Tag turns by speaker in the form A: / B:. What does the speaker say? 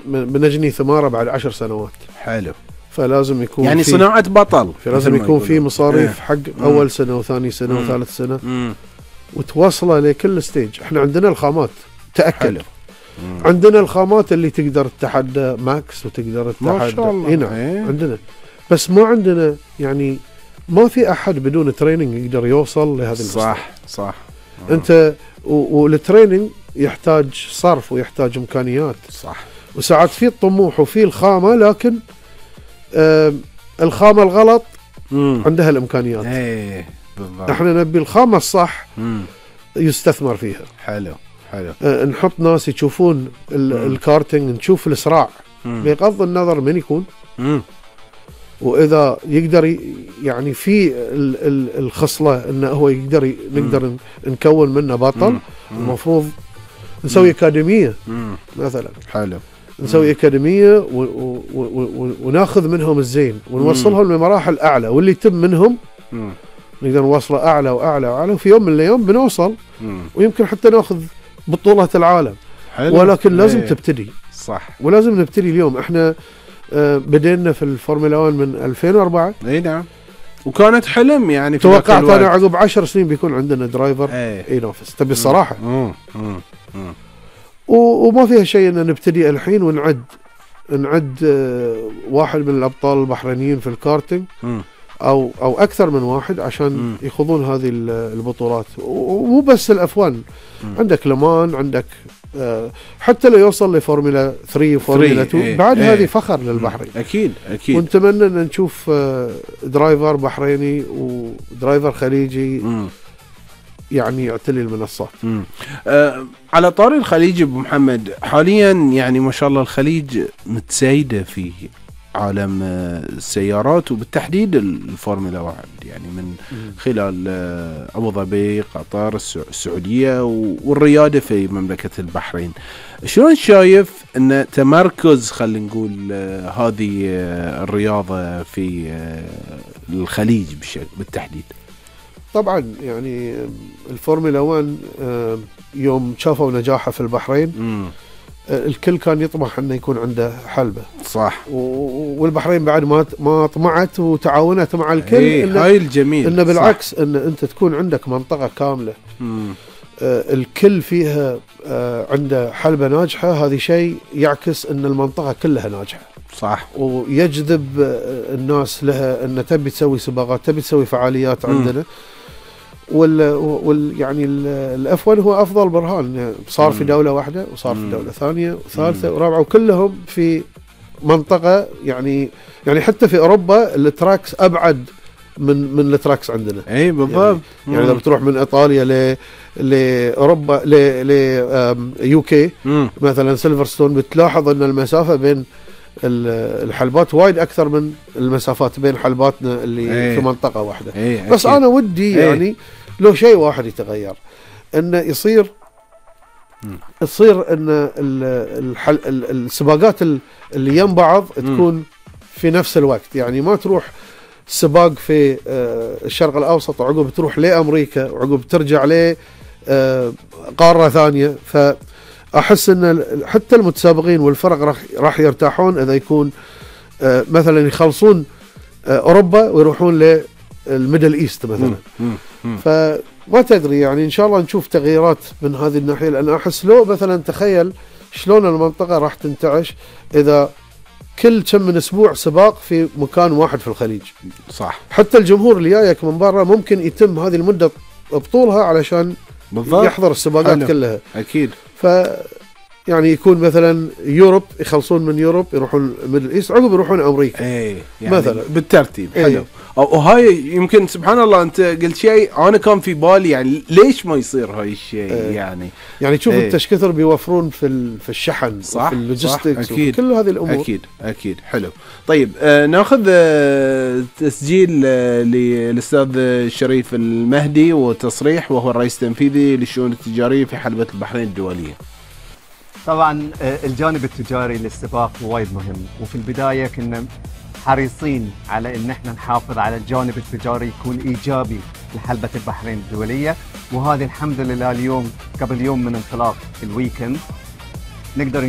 A: بنجني ثماره بعد 10 سنوات.
B: حلو.
A: فلازم يكون
B: يعني صناعة بطل،
A: فلازم يكون في مصاريف حق أول سنة وثاني سنة وثالث سنة وتوصله لكل ستيج. احنا عندنا الخامات تأكد. عندنا الخامات اللي تقدر تتحدى ماكس وتقدر تتحدى
B: ما شاء الله.
A: هنا عندنا، بس ما عندنا يعني ما في أحد بدون تريننج يقدر يوصل لهذا المستوى.
B: صح.
A: أنت والتريننج يحتاج صرف ويحتاج إمكانيات.
B: صح.
A: وساعات في الطموح وفي الخامة، لكن الخامة الغلط عندها الإمكانيات.
B: بالضبط.
A: احنا نبي الخامة الصح يستثمر فيها.
B: حلو.
A: نحط ناس يشوفون الكارتينج، نشوف الإسراع بغض النظر من يكون، وإذا يقدر يعني في الخصلة إنه هو يقدر نقدر نكون منه بطل. المفروض نسوي أكاديمية مثلا.
B: حلو.
A: نسوي أكاديمية وناخذ منهم الزين ونوصلهم لمراحل أعلى، واللي يتم منهم نقدر نوصله أعلى وأعلى وأعلى، وفي يوم من الأيام بنوصل ويمكن حتى ناخذ بطولة العالم.
B: حلو.
A: ولكن لازم تبتدي.
B: صح.
A: ولازم نبتدي اليوم. احنا بدينا في الفورمولا 1 من 2004.
B: اي نعم. وكانت حلم يعني.
A: توقعت انا عقب 10 سنين بيكون عندنا درايفر ينافس. تبي الصراحة. وما فيها شيء ان نبتدي الحين ونعد واحد من الابطال البحرينيين في الكارتينج او اكثر من واحد عشان يخوضون هذه البطولات. ومو بس الافوان، عندك لمان، عندك حتى لو يوصل لفورمولا 3 وفورمولا 2 بعد هذه فخر للبحرين.
B: اكيد.
A: ونتمنى ان نشوف درايفر بحريني ودرايفر خليجي يعني يعتلي المنصات.
B: على طاري الخليج ابو محمد، حاليا يعني ما شاء الله الخليج متسيدة في عالم السيارات وبالتحديد الفورمولا 1، يعني من خلال أبو ظبي، قطر، السعودية والريادة في مملكة البحرين. شلون شايف أن تمركز خلينا نقول هذه الرياضة في الخليج بالتحديد؟
A: طبعا يعني الفورمولا 1 يوم شافوا نجاحه في البحرين الكل كان يطمح انه يكون عنده حلبة.
B: صح.
A: والبحرين بعد ما طمعت وتعاونت مع الكل.
B: هاي الجميل.
A: انه بالعكس ان انت تكون عندك منطقة كاملة الكل فيها عنده حلبة ناجحة. هذه شيء يعكس ان المنطقة كلها ناجحة.
B: صح.
A: ويجذب الناس لها ان تبي تسوي سباقات، تبي تسوي فعاليات عندنا. يعني الأف1 هو أفضل برهان. صار في دولة واحدة وصار في دولة ثانية وثالثة ورابعة، وكلهم في منطقة يعني حتى في أوروبا التراكس أبعد من التراكس عندنا.
B: أي بالضبط.
A: يعني إذا بتروح من إيطاليا لأوروبا UK مثلا سيلفرستون، بتلاحظ أن المسافة بين الحلبات وايد أكثر من المسافات بين حلباتنا اللي في منطقة واحدة. بس أنا ودي يعني لو شيء واحد يتغير، إنه تصير إن السباقات اللي يم بعض تكون في نفس الوقت. يعني ما تروح سباق في الشرق الأوسط وعقب تروح لأمريكا وعقب ترجع قارة ثانية. فأحس إن حتى المتسابقين والفرق راح يرتاحون إذا يكون مثلا يخلصون أوروبا ويروحون للميدل إيست مثلا. فما تدري يعني إن شاء الله نشوف تغييرات من هذه الناحية، لأن أحس لو مثلا تخيل شلون المنطقة راح تنتعش إذا كل كم من أسبوع سباق في مكان واحد في الخليج.
B: صح.
A: حتى الجمهور اللي جايك من برا ممكن يتم هذه المدة بطولها علشان بالضبط يحضر السباقات كلها.
B: أكيد.
A: يعني يكون مثلا يوروب يخلصون من يوروب يروحون ميدل ايست عقب يروحون امريكا.
B: يعني
A: مثلا
B: بالترتيب. حلو. وهاي يمكن سبحان الله انت قلت شيء انا كان في بالي، يعني ليش ما يصير هاي الشيء؟ يعني
A: تشوف انت ايش كثر بيوفرون في الشحن وفي اللوجيستكس وفي كل هذه الامور.
B: اكيد. حلو. طيب ناخذ تسجيل للاستاذ الشريف المهدي وتصريح، وهو الرئيس التنفيذي للشؤون التجاريه في حلبة البحرين الدوليه.
C: طبعا الجانب التجاري للسباق وايد مهم، وفي البداية كنا حريصين على ان احنا نحافظ على الجانب التجاري يكون ايجابي لحلبة البحرين الدولية. وهذه الحمد لله اليوم قبل يوم من انطلاق الويكند نقدر